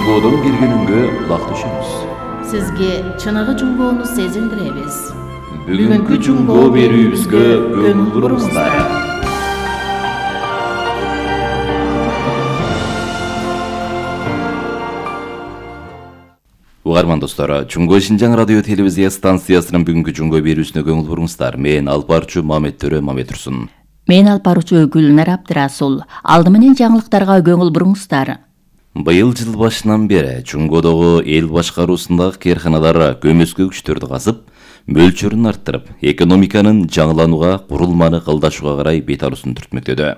Жунгодон келгенүнгө кулак түшөбүз. Сизге чыныгы жунгоону сезиндиребиз. Бүгүнкү жунгоо берүүбүзгө көңүл буруңуздар. Угарман достор, Жунгоо Шинжаң радио телевизия станциясынын бүгүнкү жунгоо берүүсүнө көңүл буруңуздар. Мен алып баруучу Мамет Төрө Мамет Турсун. Мен алып баруучу Гүлнар Абдырасул. Алды менен жаңылыктарга көңүл буруңуздар. Быйыл жыл башынан бери Жунгодогу эл башкаруусундагы кээрханалар көмөскө күчтөрдү казып, мөлчөрүн арттырып, экономиканын жаңыланууга, курулманы кылдашууга карай бет алуусун түртмөктөдү.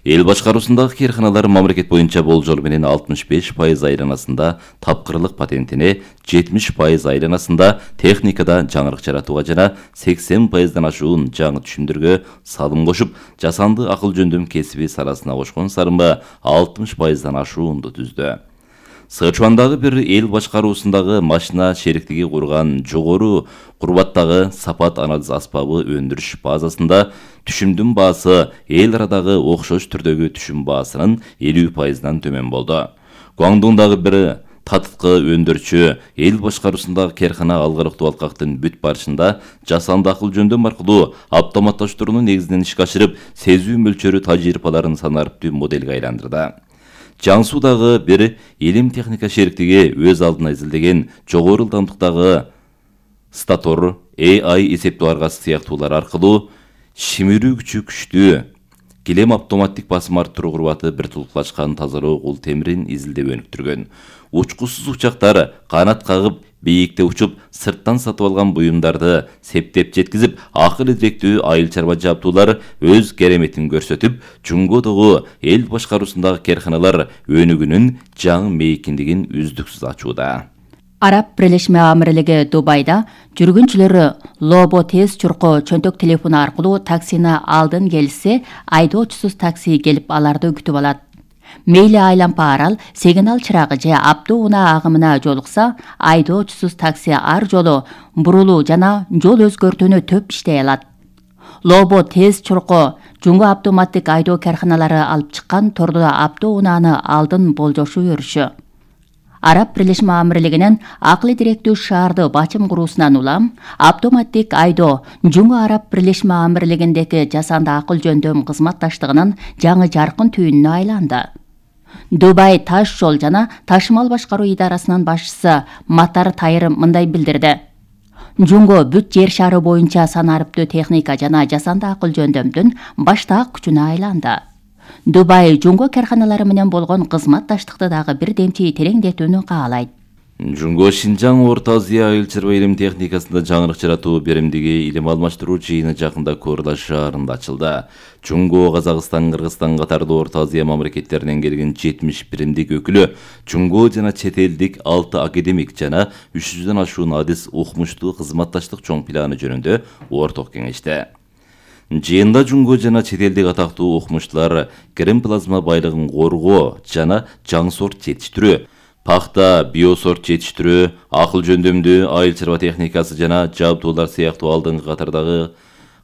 Эл башкаруусундагы кээрханалар мамлекет боюнча болжол менен 65% айланасында тапкырлык патентине, 70% айланасында техникада жаңырык жаратууга жана 80%дан ашуун жаңы түшүмдөргө салым кошуп, жасанды акыл жөндөм кесиби саласына кошкон сарымы 60%дан ашуунду түздү. Сычуандагы бир эл башкаруусундагы машина шериктиги курган жогору курбаттагы сапат анализ аспабы өндүрүш базасында түшүмдүн баасы эл арадагы окшош түрдөгү түшүм баасынын 50%дан төмөн болду. Гуандуңдагы бир татыткы өндүрчү эл башкаруусундагы кээрхана алгарыктуу алкактын бүт барышында жасанды акыл жөндөм аркылуу автоматташтыруунун негизинен ишке ашырып, сезүү мөлчөрү тажрыйбаларын санариптүү модельге айландырды. Жаңсуудагы бир илим техника шериктиги өз алдына изилдеген жогору ылдамдыктагы статор AI эсептөө аргасы сыяктуулар аркылуу шимирүү күчү күчтүү килем автоматтик басым арттыруу курбаты бир тулкулашкан тазалоо кул темирин изилдеп өнүктүргөн. Учкусуз учактар канат кагып бийикте учуп, сырттан сатып алган буюмдарды септеп жеткизип, акыл идиректүү айыл чарба жабдуулар өз кереметин көрсөтүп, Жунгодогу эл башкаруусундагы кээрханалар өнүгүүнүн жаңы мейкиндигин үздүксүз ачууда. Араб Бирлешме Амирлиги Дубайда жүргүнчүлөрү Лобо тез чуркоо чөнтөк телефону аркылуу таксини алдын келсе, айдоочусуз такси келип аларды күтүп алат. Мейли айланпа арал, сигнал чырагы же аптуу унаа агымына жолукса, айдоочусуз такси ар жолу бурулуу жана жол өзгөртүүнү төп иштей алат. Лобо тез чуркоо жунгу автоматтик айдоо кээрханалары алып чыккан тордо аптуу унааны алдын болжошуу өрүшү. Араб Бирлешме Амирлигинин акыл идиректүү шаарды бачым куруусунан улам, автоматтик айдоо Жунгу Араб Бирлешме Амирлигиндеги жасанды акыл жөндөм кызматташтыгынын жаңы жаркын түйүнүнө айланды. Дубай таш жол жана ташымал башкаруу идарасынын башчысы Матар Тайыр мындай билдирди. Жунго бүт жер шары боюнча санариптүү техника жана жасанды акыл жөндөмдүн баштаак күчүнө айланды. Дубай Жунго кээрханалары менен болгон кызматташтыкты дагы бир демчи тереңдетүүнү каалайт. Жунгоо Шинжаң Орто Азия айыл чарба илим техникасында жаңырык жаратуу беримдиги илим алмаштыруу жыйыны жакында Коорлаш шаарында ачылды. Жунго, Казакстан, Кыргызстан катардуу Орто Азия мамлекеттеринен келген 70 биримдик өкүлү Жунго жана чет элдик 6 академик жана 300дөн ашуун адис укмуштуу кызматташтык чоң планы жөнүндө орток кеңеште. Жыйында Жунго жана чет элдик атактуу укмуштуулар крем плазма байлыгын коргоо жана жаңы сорт жетиштирүү, пахта, биосорт жетиштирүү, акыл жөндөмдүү айыл чарба техникасы жана жабдуулар сыяктуу алдыңкы катардагы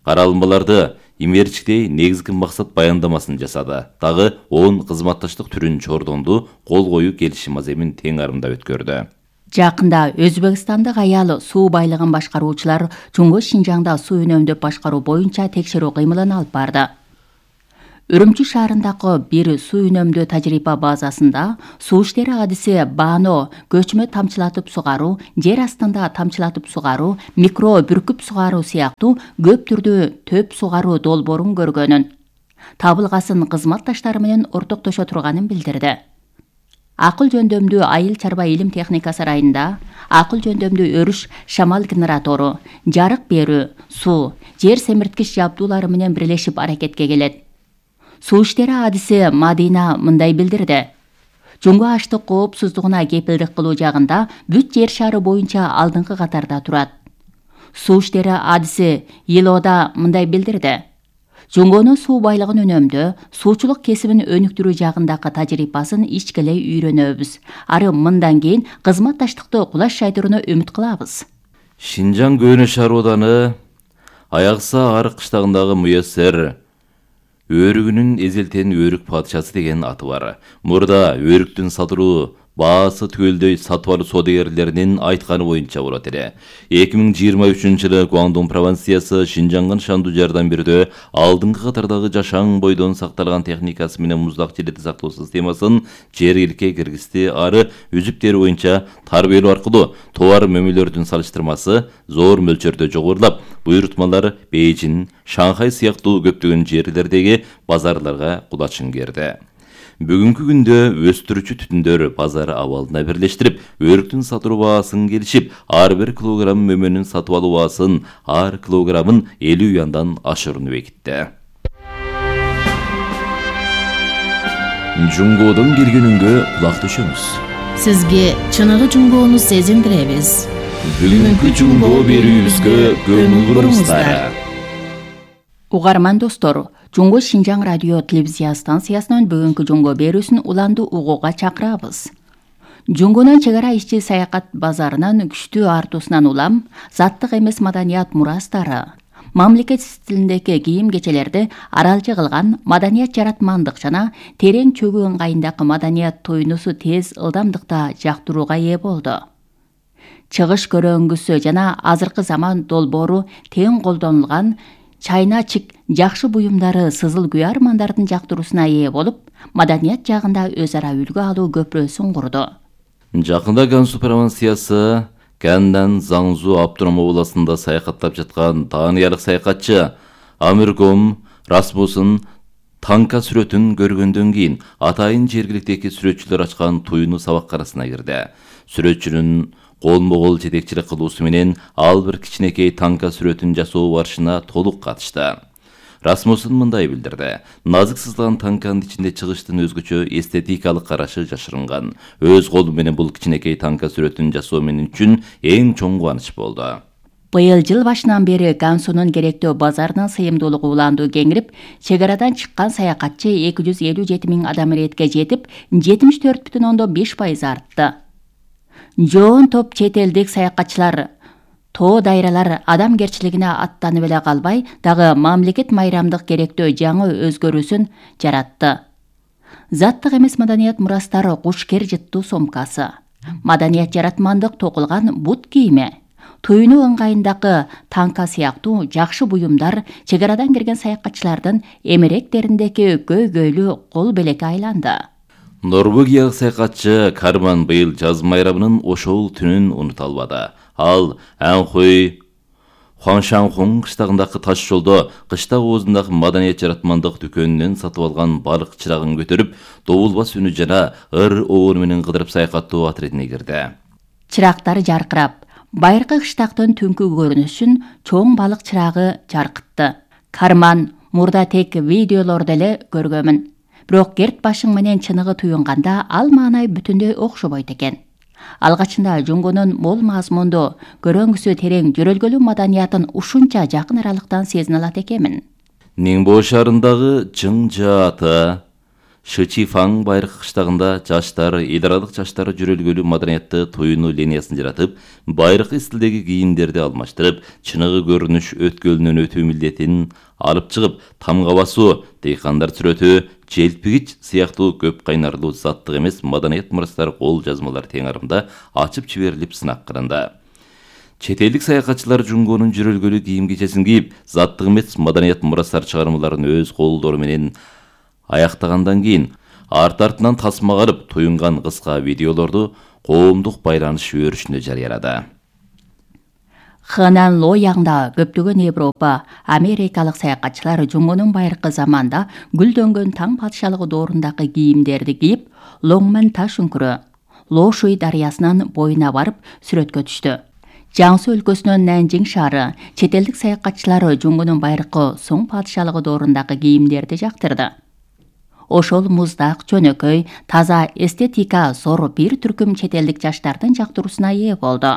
каралымдарды имерчиктей негизги максат баяндамасын жасады. Дагы 10 кызматташтык түрүн чордонду, кол коюу келишим аземин тең арымдап өткөрдү. Жакында Өзбекстандык аял суу байлыгын башкаруучулар Жунгу Шинжаңда суу үнөмдөп башкаруу боюнча текшерүү кыймылын алып барды. Үрүмчү шаарындагы бир суу үнөмдөө тажрыйба базасында суу иштери адиси баано, көчмө тамчылатып сугаруу, жер астында тамчылатып сугаруу, микро бүркүп сугаруу сыяктуу көп түрдүү төп сугаруу долбоорун көргөнүн, табылгасын кызматташтары менен ортоктошо турганын билдирди. Акыл жөндөмдүү айыл чарба илим техника сарайында акыл жөндөмдүү өрүш шамал генератору, жарык берүү, суу, жер семирткич жабдуулары менен бирлешип аракетке келет. Суу иштери адиси Мадина мындай билдирди. Жунгу аштык коопсуздугуна кепилдик кылуу жагында бүт жер шары боюнча алдыңкы катарда турат. Суу иштери адиси Илода мындай билдирди. Жунгонун суу байлыгын үнөмдөө, суучулук кесибин өнүктүрүү жагындагы тажрыйбасын ичкелей үйрөнөбүз. Ары мындан кийин кызматташтыкты кулаш жайдырууну үмүт кылабыз. Шинжаң Көөнө шаар ооданы Аягса арык кыштагындагы Муяссер Өрүгүнүн эзелтен өрүк падышасы деген аты бар. Мурда өрүктүн сатыруу баасы түгөлдөй сатып алуу соодагерлеринин айтканы боюнча болот эле. 2023-жылы Гуандун провинциясы Шинжанган шанду жардам берүүдө алдыңкы катардагы жашаң бойдон сакталган техникасы менен муздак желети сактоо системасын жергиликке киргизди. Ары үзүп тери боюнча тарбиялоо аркылуу товар мөмөлөрдүн салыштырмасы зор мөлчөрдө жогорулап, буйрутмалар Бейжин, Шанхай сыяктуу көптөгөн жерлердеги базарларга кулачын керди. Бүгүнкү күндө өстүрүүчү түтүндөр базар абалына бирлештирип, өрүктүн сатуу баасын келишип, ар бир килограмм мөмөнүн сатып алуу баасын ар килограммын 50 юандан ашырууну бекитти. Жунгодон келген үнгө кулак түшөңүз. Сизге чыныгы жунгоону сезиндиребиз. Бүгүнкү жунгоо берүүбүзгө көңүл буруңуздар. Угарман достор, Жунго Шинжаң радио телевизия станциясынан бүгүнкү жунгоо берүүсүн уланды угууга чакырабыз. Жунгонун чек ара ишчи саякат базарынын күчтүү артуусунан улам, заттык эмес маданият мурастары, мамлекет стилиндеги кийим кечелерди аралчы кылган маданият жаратмандык жана терең чөгүү ыңгайындагы маданият туйнусу тез ылдамдыкта жактырууга ээ болду. Чыгыш көрөңгүсү жана азыркы заман долбоору тең колдонулган чайна-чик жакшы буюмдары сызыл күй армандардын жактыруусуна ээ болуп, маданият жагында өз ара үлгү алуу көпүрөсүн курду. Жакында Гансу провинциясы Кэндан Заңзу автоном областында саякаттап жаткан таанылык саякатчы Амиргом Расмусын танка сүрөтүн көргөндөн кийин атайын жергиликтеги сүрөтчүлөр ачкан туйну сабак арасына кирди. Сүрөтчүнүн колмо-кол жетекчилик кылуусу менен ал бир кичинекей танка сүрөтүн жасоо барышына толук катышты. Расмусын мындай билдирди: назык сызылган танканын ичинде чыгыштын өзгөчө эстетикалык карашы жашырынган. Өз колу менен бул кичинекей танка сүрөтүн жасоо мен үчүн эң чоң кубаныч болду. Быйыл жыл башынан бери Гансунун керектөө базарынын сыйымдуулугу уланду кеңирип, чек арадан чыккан саякатчы 257 000 адам иретке жетип, 74,5% артты. Жоон топ чет элдик саякатчылар тоо дайралар адамгерчилигине аттанып эле калбай, дагы мамлекет майрамдык керектөө жаңы өзгөрүүсүн жаратты. Заттык эмес маданият мурастары кушкер жыттуу сомкасы, маданият жаратмандык токулган бут кийими, туйну ыңгайындагы танка сыяктуу жакшы буюмдар чек арадан кирген саякатчылардын эмеректериндеги көйгөйлүү кол белекке айланды. Норвегиялык саякатчы Карман быйыл жаз майрамынын ошол түнүн унута албады. Ал Анхой Хуаншанхун кыштагындагы таш жолдо кыштак оозундагы маданият жаратмандык дүкөнүнөн сатып алган балык чырагын көтөрүп, добулбас үнү жана ыр оору менен кыдырып саякаттоо отрядине кирди. Чырактар жаркырап, байыркы кыштактын түнкү көрүнүшүн чоң балык чырагы жаркытты. Карман мурда тек видеолордо эле көргөмүн. Бирок керт башың менен чыныгы туюнганда ал маанай бүтүндөй окшобойт экен. Алгачында жунгонун мол мазмундуу, көрөңгүсү терең жөрөлгөлүү маданиятын ушунча жакын аралыктан сезине алат экенмин. Ниңбо шаарындагы Жыңжаата Шычифаң байыркы кыштагында жаштар, эл аралык жаштар жөрөлгөлүү маданиятты туюну линиясын жаратып, байыркы стилдеги кийимдерди алмаштырып, чыныгы көрүнүш өткөлүнөн өтүү милдетин алып чыгып, тамга басуу, дыйкандар сүрөтү, желпигич сыяктуу көп кайнарлуу заттык эмес маданият мурастар кол жазмалар тең арымда ачып жиберилип сынак кылынды. Чет элдик саякатчылар жунгонун жөрөлгөлүү кийим кечесин кийип, заттык эмес маданият мурастар чыгармаларын өз колдору менен аяктагандан кийин арт-артынан тасмага алып туюнган кыска видеолорду коомдук байланыш өрүшүндө жарыялады. Хэнан Лояңда көптөгөн Европа, Америкалык саякатчылар жунгонун байыркы заманда гүлдөнгөн таң падышалыгы доорундагы кийимдерди кийип, Лоңмен таш үңкүрө, Лошуй дарыясынын боюна барып сүрөткө түштү. Жаңсу өлкөсүнүн Нанжиң шаары чет элдик саякатчылар жунгонун байыркы соң падышалыгы доорундагы кийимдерди жактырды. Ошол муздак, жөнөкөй, таза эстетика зор бир түркүм чет элдик жаштардын жактыруусуна ээ болду.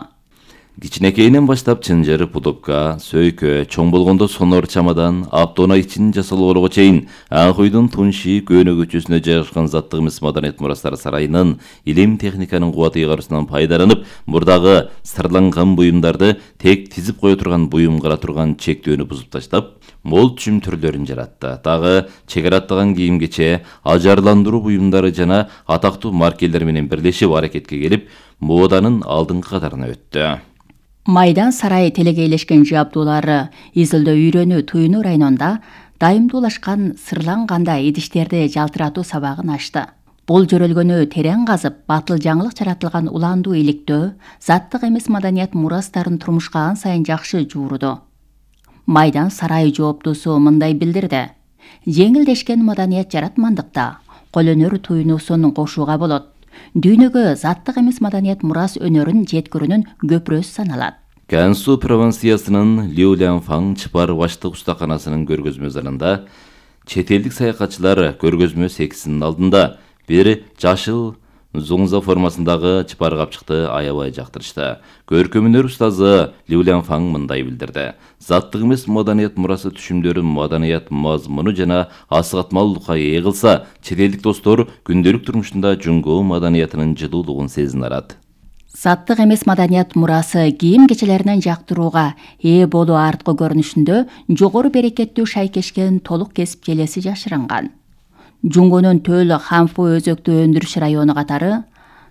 Кичинекейинен баштап чынжыр, пудовка, сөйкө, чоң болгондо сонор чамадан, автоунаа ичин жасалоого чейин Ак уйдун Тунши көөнө көчөсүнө жайгашкан заттык эмес маданият мурастары сарайынын илим техниканын кубаты ыйгарусунан пайдаланып, мурдагы сырланган буюмдарды тек тизип кое турган буюм кыла турган чектөөнү бузуп таштап, мол түшүм түрлөрүн жаратты. Дагы чегара аттаган кийимгече, ажарландыруу буюмдары жана атактуу маркелер менен бирлешип аракетке келип, моданын алдыңкы катарына өттү. Майдан сарайы телегейлешкен жабдуулары изилдөө үйрөнүү туюнуу районунда дайымдуулашкан сырланганда идиштерди жалтыратуу сабагын ачты. Бул жөрөлгөнү терең казып, батыл жаңылык жаратылган уландуу иликтөө, заттык эмес маданият мурастарын турмушка ан сайын жакшы жуурду. Майдан сарайы жооптуусу мындай билдирди: жеңилдешкен маданият жаратмандыкта колөнөр туюнуусун кошууга болот. Дүйнөгө заттык эмес маданият мурас өнөрүн жеткирүүнүн көпүрөсү саналат. Кансу провинциясынын Лиулянфан чыпар баштык устаканасынын көргөзмө залында чет элдик саякатчылар көргөзмө секисинин алдында бир жашыл зуңза формасындагы чыпар капчыкты аябай жактырышты. Көркөмөнөр устазы Лиулянфан мындай билдирди: заттык эмес маданият мурасы түшүмдөрү маданият мазмуну жана асыгатмалуулукка ээ кылса, чет элдик достор күндөлүк турмушунда Жунго маданиятынын жылуулугун сезине алат. Заттык эмес маданият мурасы кийим-кечелеринен жактырууга ээ болуу арткы көрүнүшүндө жогору берекеттүү шайкешкен толук кесип желеси жашырынган. Жунгонун Төл Ханфу өзөктүү өндүрүш району катары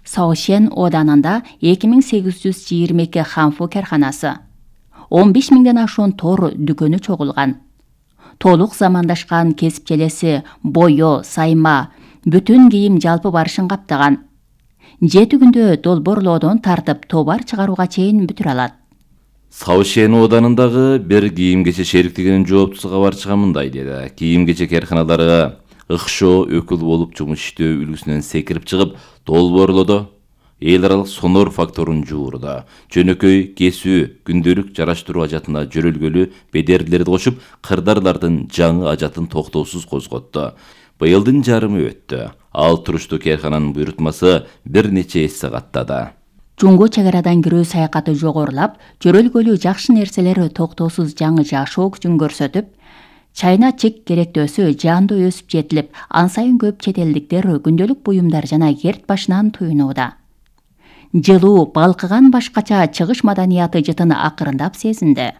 Саошен оданында 2822 Ханфу карханасы, 15 миңден ашуун тор дүкөнү чогулган. Толук замандашкан кесип желеси бою, сайма, бүтүн кийим жалпы барышын каптаган. 7 күндө долбоорлоодон тартып товар чыгарууга чейин бүтүрө алат. Саошен оданындагы бир кийим-кече шериктигинин жооптусу кабарчыга мындай деди: кийим-кече карханалары ыкшоо өкүл болуп жумуш иштөө үлгүсүнөн секирип чыгып, долбоорлоодо эл аралык сонор факторун жуурда, жөнөкөй кесүү, күндөлүк жараштыруу ажатына жөрөлгөлүү бедерлерди кошуп, кырдарлардын жаңы ажатын токтоосуз козготту. Быйылдын жарымы өттү. Ал туруштуу кархананын буйрутмасы бир нече эсе каттады. Жунго чегарадан кирүү саякаты жогорулап, жөрөлгөлүү жакшы нерселер токтоосуз жаңы жашоо күчүн көрсөтүп, чайна чек керектөөсү жаандуу өсүп жетилип, ан сайын көп чет элдиктер күндөлүк буюмдар жана керт башынан туюнууда. Жылуу, балкыган башкача чыгыш маданияты жытын акырындап сезинди.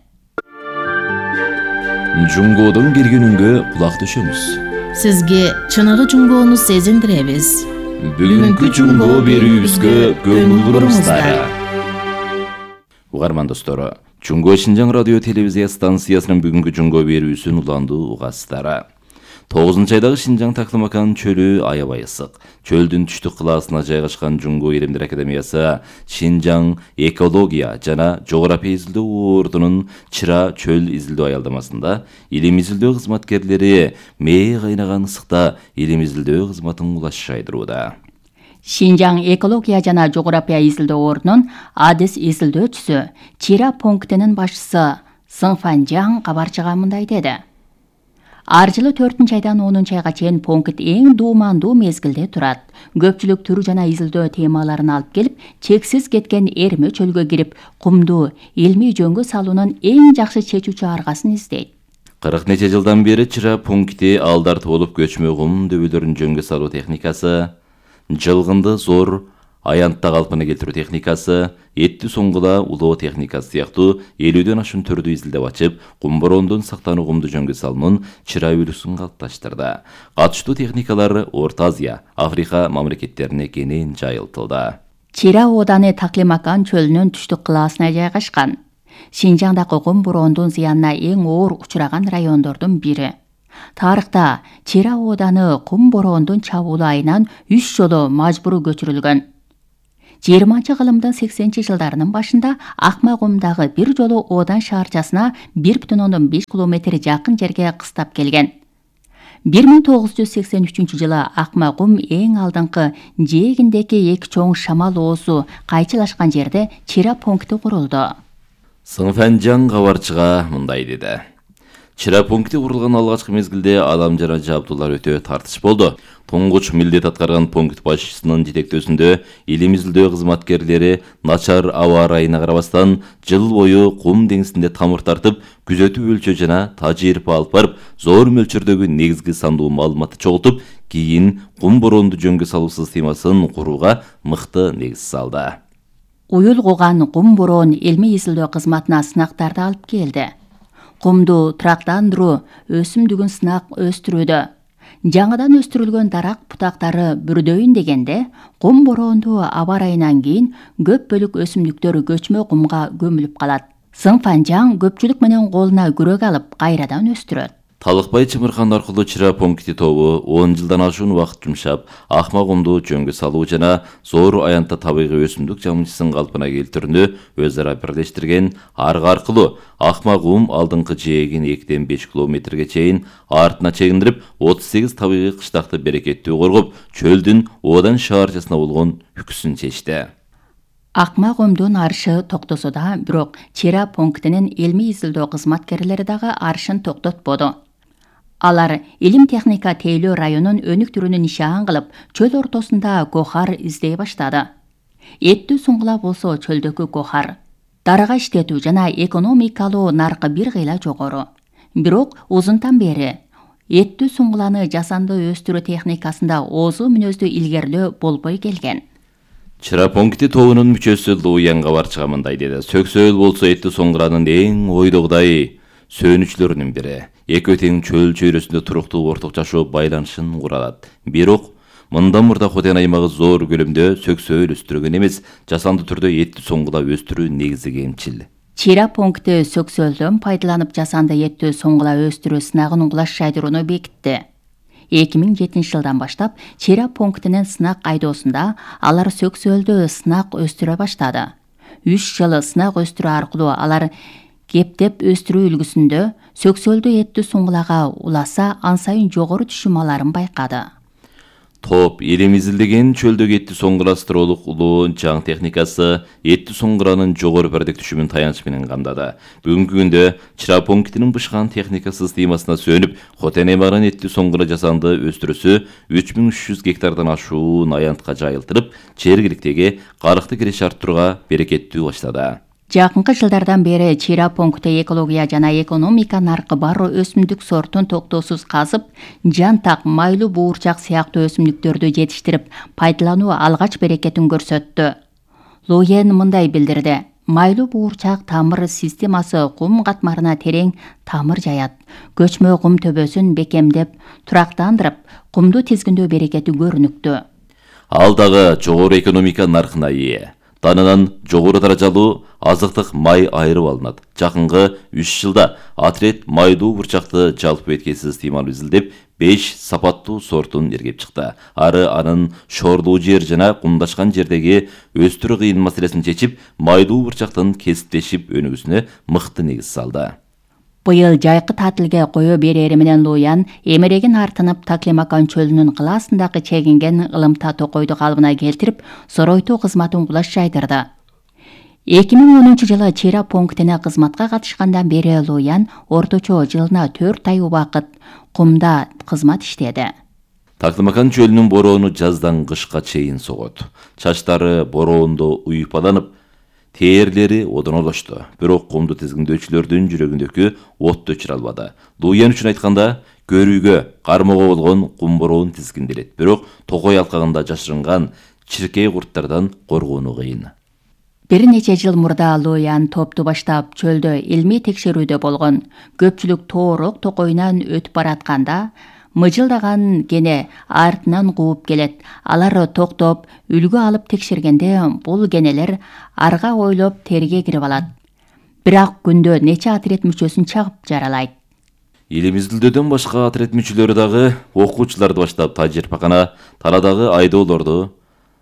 Жунгодон киргенүнгө кулак төшөмүз. Сизге чыныгы Жунгону сезиндиребиз. Бүгүнкү Жунго берүүбүзгө көңүл буруңуздар. Угарман достору, Жунго Шинжаң радио телевизия станциясынын бүгүнкү Жунго берүүсүн уландуу угасыздары. 9 айдагы Шинжаң Таклымакан чөлү аябай ысык. Чөлдүн түштүк кылаасына жайгашкан Жунго Илимдер академиясы Шинжаң экология жана жогорапия изилдөө ордунун Чыра чөл изилдөө аялдамасында илим изилдөө кызматкерлери мээ кайнаган ысыкта илим изилдөө кызматын улашшайдырууда. Шинжаң экология жана жогорапия изилдөө ордунун адис изилдөөчүсү Чира пунктинин башчысы Сыңфанжаң кабарчыга мындай деди: ар жылы 4 айдан 10 айга чейин пункт эң дуумандуу мезгилде турат. Көпчүлүк түр жана изилдөө темаларын алып келип, чексиз кеткен эрме чөлгө кирип, кумду илмий жөнгө салуунун эң жакшы чечүүчү аргасын издейт. 40 нече жылдан бери Чыра пункти алдар толуп көчмө кум дөбөлөрүн жөнгө салуу техникасы, жылгынды зор аянтта калпына келтирүү техникасы, этти соңгула улоо техникасы сыяктуу 50дөн ашуун түрдү изилдеп ачып, кум бороондон сактануу кумду жөнгө салуунун Чыра үлгүсүн калыпташтырды. Катыштуу техникалар Орто Азия, Африка мамлекеттерине кенен жайылтылды. Чира ооданы Таклимакан чөлүнүн түштүк кылаасына жайгашкан. Шинжаңдагы кум бороондун зыянына эң оор учураган райондордун бири. Тарыхта Чира ооданы кум бороондун чабуулу айынан 3 жолу мажбуруу көчүрүлгөн. 20-кылымдын 80 жылдарынын башында Акмакумдагы бир жолу оодан шаарчасына 1,5 километр жакын жерге кыстап келген. 1983 жылы Акмакум эң алдыңкы жээгиндеги эки чоң шамал оозу кайчылашкан жерде Чира пункти курулду. Сыңфанжаң кабарчыга мындай деди: Чыра пункти курулган алгачкы мезгилде адам жана жабдуулар өтө тартыш болду. Туңгуч милдет аткарган пункт башчысынын жетектөөсүндө илим изилдөө кызматкерлери начар аба ырайына карабастан жыл бою кум деңизинде тамыр тартып, күзөтүү өлчөө жана тажыйырпа алып барып, зор мөлчөрдөгү негизги сандуу маалыматты чогултуп, кийин кум бороону жөнгө салуу системасын курууга мыкты негиз салды. Уюлгуган кум бороон илмий изилдөө кызматына сынактарды алып келди. Кумду турактандыруу өсүмдүгүн сынак өстүрүүдө. Жаңыдан өстүрүлгөн дарак бутактары бүрдөйүн дегенде, кум бороондуу аба ырайынан кийин көп бөлүк өсүмдүктөр көчмө кумга көмүлүп калат. Сыңфанжаң көпчүлүк менен колуна күрөк алып кайрадан өстүрөт. Талыкбай Чымыркан аркылуу Чыра пункти тобу 10 жылдан ашуун убакыт жумшап, акма кумду жөнгө салуу жана зор аянтта табигый өсүмдүк жамынчысын калпына келтирүүнү өз ара бирлештирген. Аргы аркылуу акма кум алдыңкы жээгин 2-5 километрге чейин артына чегиндирип, 38 табигый кыштакты берекеттүү коргоп, чөлдүн оодан шаарчасына болгон үкүсүн чечти. Акма кумдун арышы токтосо да, бирок Чыра пунктинин илмий изилдөө кызматкерлери дагы арышын токтотподу. Алар илим техника тейлөө районун өнүк түрүнү нишан кылып, чөл ортосунда кохар издей баштады. Эттүү суңгула болсо чөлдөгү кохар. Дарыга иштетүү жана экономикалуу наркы бир кыйла жогору. Бирок узунтан бери эттүү суңгуланы жасанды өстүрүү техникасында оозу мүнөздүү илгерлөө болбой келген. Чыра пункти тобунун мүчөсү Луянга барчыга мындай деди. Сөксөөл болсо эттүү суңгуранын эң ойдогудай сөнүчлөрүнүн бири. Экөө тең чөл чөйрөсүндө туруктуу орток жашоо байланышын куралат. Бирок мындан мурда Хотен аймагы зор көлөмдө сөксөөл өстүргөн эмес, жасанды түрдө эттүү суңгула өстүрүү негизи кемчил. Чыра пункти сөксөөлдөн пайдаланып жасанды эттүү суңгула өстүрүү сынагын кулаш жайдырууну бекитти. 2007 жылдан баштап Чыра пунктинин сынак айдоосунда алар сөксөөлдө сынак өстүрө баштады. 3 жыл сынак өстүрүү аркылуу алар кептеп өстүрүү үлгүсүндө сөксөөлдүү эттүү суңгулага уласа ан сайын жогору түшүм аларын байкады. Топ илим изилдеген чөлдөгү эттүү суңгура астрологулуу жаң техникасы эттүү суңгуранын жогору пердек түшүмүн таянч менен камдады. Бүгүнкү күндө Чыра пунктинин бышкан техника системасына сөнүп, Хотен аймагынын эттүү суңгура жасанды өстүрүүсү 3300 гектардан ашуун аянтка жайылтырып, жергиликтеги карыкты киреше арттырууга берекеттүү баштады. Жакынкы жылдардан бери Чыра пункти экология жана экономика наркы бар өсүмдүк сортун токтоосуз казып, жантак, майлуу буурчак сыяктуу өсүмдүктөрдү жетиштирип, пайдалануу алгач берекетин көрсөттү. Луен мындай билдирди. Майлуу буурчак тамыр системасы кум катмарына терең тамыр жаят. Көчмө кум төбөсүн бекемдеп, турактандырып, кумду тизгиндөө берекети көрүнүктүү. Ал дагы жогору экономика наркына ээ. Данынан жогору даражалуу азыктык май айырып алынат. Жакынкы 3 жылда Атрет майдуу бурчакты жалпы эткесиз системаны изилдеп, 5 сапаттуу сортун эргеп чыкты. Ары анын шорлуу жер жана кумдашкан жердеги өстүрүү кыйын маселесин чечип, майдуу бурчактын кесиптешип өнүгүүсүнө мыкты негиз салды. Быйыл жайкы татилге кое берери менен Луян эмерегин артынып Таклимакан чөлүнүн кылаасындагы чегинген ылымта токойду калыбына келтирип, соройтуу кызматын кулаш жайдырды. 2010 жылы Чыра пунктине кызматка катышкандан бери Луян орточо жылына 4 ай убакыт кумда кызмат иштеди. Таклимакан чөлүнүн бороону жаздан кышка чейин согот. Чачтары бороондо уйпаланып, тээрлери одонолошту. Бирок кумду тизгиндөөчүлөрдүн жүрөгүндөгү отты өчүрө албады. Луян үчүн айтканда, көрүүгө, кармоого болгон кум бороон тизгинделет. Бирок токой алкагында жашырынган чиркей курттардан коргоону кыйын. Бир нече жыл мурда Луян топту баштап чөлдө илмий текшерүүдө болгон. Көпчүлүк тоорок токойунан өтүп баратканда мыжылдаган кене артынан кууп келет. Алар токтоп, үлгү алып текшергенде бул кенелер арга ойлоп терге кирип алат. Бирок күндө нече Атрет мүчөсүн чагып жаралайт. Илим изилдөөдөн башка Атрет мүчөлөрү дагы окуучуларды баштап тажырыйпакана тарадагы айдоолорду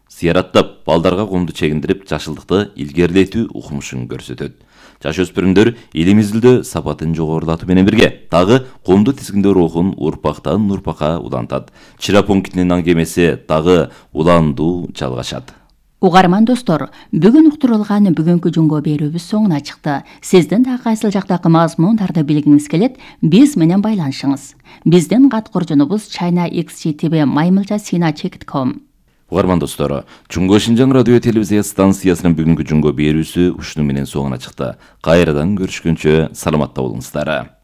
зыяраттап, балдарга кумду чегиндирип, жашылдыкты илгерилетүү укмушун көрсөтөт. Жаш өспүрүмдөр илим изилдөө сапатын жогорулатуу менен бирге дагы кумду тизгиндөө рухун урпактан урпакка улантат. Чыра пунктинин аңгемеси дагы уландуу жалгашат. Угарман достор, бүгүн уктурулган бүгүнкү жунго берүүбүз соңуна чыкты. Сиздин да кайсыл жактагы мазмундарды билгиңиз келет, биз менен байланышыңыз. Биздин кат коржонубуз chinaxgtv@maymilja.sina.com. Угарман достор, Чуңго Шинжаң радио телевизия станциясынын бүгүнкү жунго берүүсү ушуну менен соңуна чыкты. Кайрадан көрүшкөнчө саламатта болуңуздар.